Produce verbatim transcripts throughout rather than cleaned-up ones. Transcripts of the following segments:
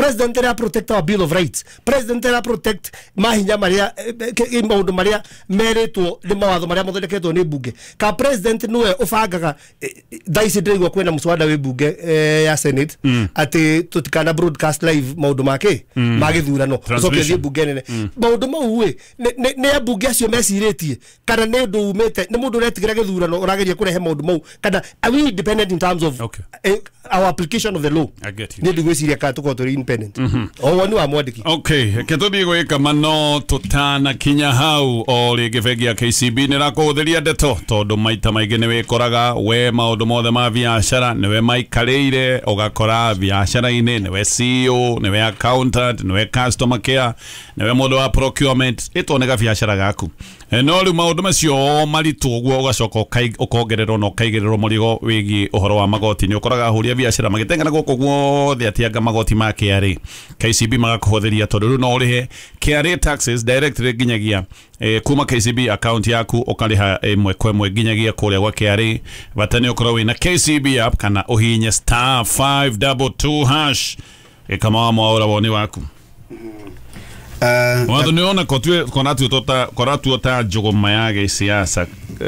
President era protect our Bill of Rights? President era protect mahinya maria, maundu maria meritwo ni mawatho maria mathondeketwo ni bunge? Ka president niwe ubangaga? Thaa ici ndĩraigua kwĩna mũswada wĩ bunge ya Senate atĩ tũtikana broadcast live maundu make ma gĩthurano, ũcoke ũthiĩ bunge nene. Maundu mau ĩ nĩ ambunge acio mecirĩtie, kana nĩ ũndũ umĩte nĩ mũndũ ũretigĩra gĩthurano ũrageria kũrehe maũndũ mau? Kana are we independent in terms of Okay. eh, our application of the law? I get you. Nĩ ndigwĩciria kana tũkorwo tũrĩ independent. O woni wa mwandĩki. Okay, reke tũthiĩ gwĩka mano tũtanakinya hau. O rĩngĩ, bengi ya K C B nĩ ĩrakũhũthĩria ndeto, tondũ maita maingĩ nĩ wĩkoraga we maũndũ mothe ma biacara nĩwe maikarĩire. Ũgakora biacara-inĩ nĩwe C E O, nĩwe accountant, nĩwe customer care, nĩwe mũndũ wa procurement, ĩtwo nĩ gabiacara gaku. Eh, no rĩu maũndũ macio maritũ ũguo, ũgacoka ũkai- ũkongererwo na ũkaigĩrĩrwo mũrigo wĩgiĩ ũhoro wa magoti. Nĩ ũkoraga ahũri a biacara magĩteng'era gũkũ guothe atianga magoti ma K R A. K C B magakũhũthĩria, tondũ rĩu no ũrĩhe K R A taxes directly nginyagia eh, kuma K C B account yaku, ũkarĩha ĩmwe kwa ĩmwe nginyagia kũrĩa gwa K R A. Bata nĩ ũkorwo wĩna K C B app kana ũhihinye star five two two hash. Gĩkama wa mwaũra, woni waku? Uh, watho nĩ ona koratuo ta njũgũma ya gĩsiasa,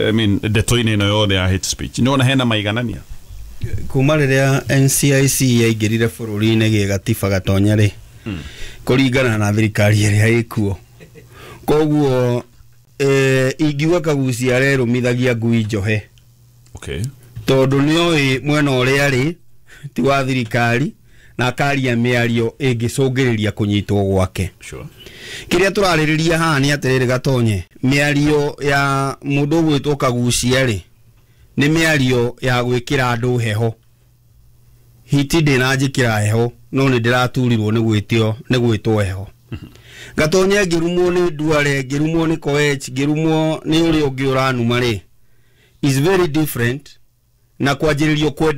I mean, ndeto-inĩ ĩno yothe ya hate speech, nĩ wona hena maiganania? Kuma rĩrĩa N C I C yaingĩrire bũrũri-inĩ gĩgatiba, Gatonya rĩ, kũringana na thirikari ĩrĩa ĩkuo, koguo eh, ingiuga Kagucia arerũmithagia ngui njohe, okay tondũ nĩoĩ mwena ũrĩa arĩ ti wa thirikari, na akaria mĩario ĩngĩcũngĩrĩria kũnyitwo gwake. Sure kĩrĩa tũrarĩrĩria haha nĩ atĩrĩrĩ, Gatonye, mĩario ya mũndũ ũgwĩtwo Kagucia rĩ, nĩ mĩario ya gwĩkĩra andũ heho. Hiti ndĩnanjĩkĩra heho, no nĩ ndĩraturirwo nĩ gwĩtio nĩ gwĩtwo heho. Gatonye, ngĩrumwo nĩ Nduare, ngĩrumwo nĩ Koech, ngĩrumwo nĩ ũrĩa ũngĩ ũranuma rĩ, is very different na kwanjĩrĩrio kwenderio.